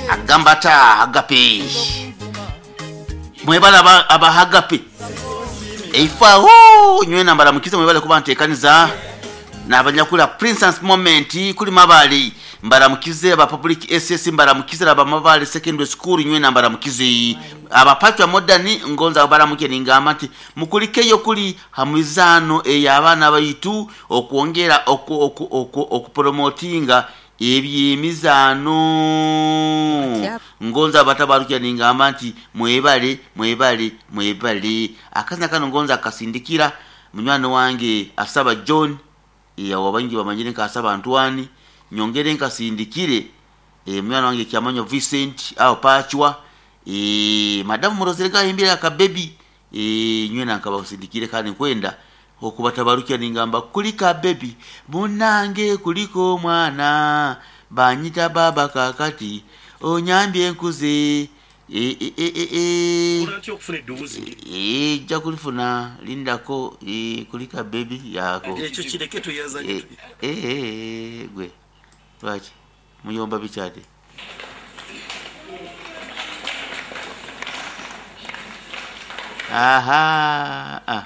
Agamba ata Agape. Mwebale aba Agape. Eifa nywena mbaramukize mwebale kuba ntekaniza n'abanyakula Princess Moment kuli Mabale mbaramukize aba Public SS mbaramukize aba Mabale Secondary School nywena mbaramukize abapatwa modern ngonza baramuke ningamba nti mukulikeyo kuli hamizano ey'abaana baitu okwongera okupromotinga ebyemizaano. Ngonza abatabarukira ningamba nti mwebale mwebale mwebale. Akazina kano ngonza akasindikira munywani wange Asaba John, awo baingi bamanyire nka Asaba Antwani, nyongere nkasindikire munywani wange Kyamanyo Vincent awo Pachwa, madamu Murozere gahimbire akabebi, nywena nkabasindikire kandi nkwenda okubatabarukira ningamba kulika bebi munange kuliko omwana banyita baba kakati onyambye nkuze. Ejja kulifuna lindako, kulika bebi yako ekyo kireke tuyazanye. Gwe lwaki muyomba bikyade? Aha, ah.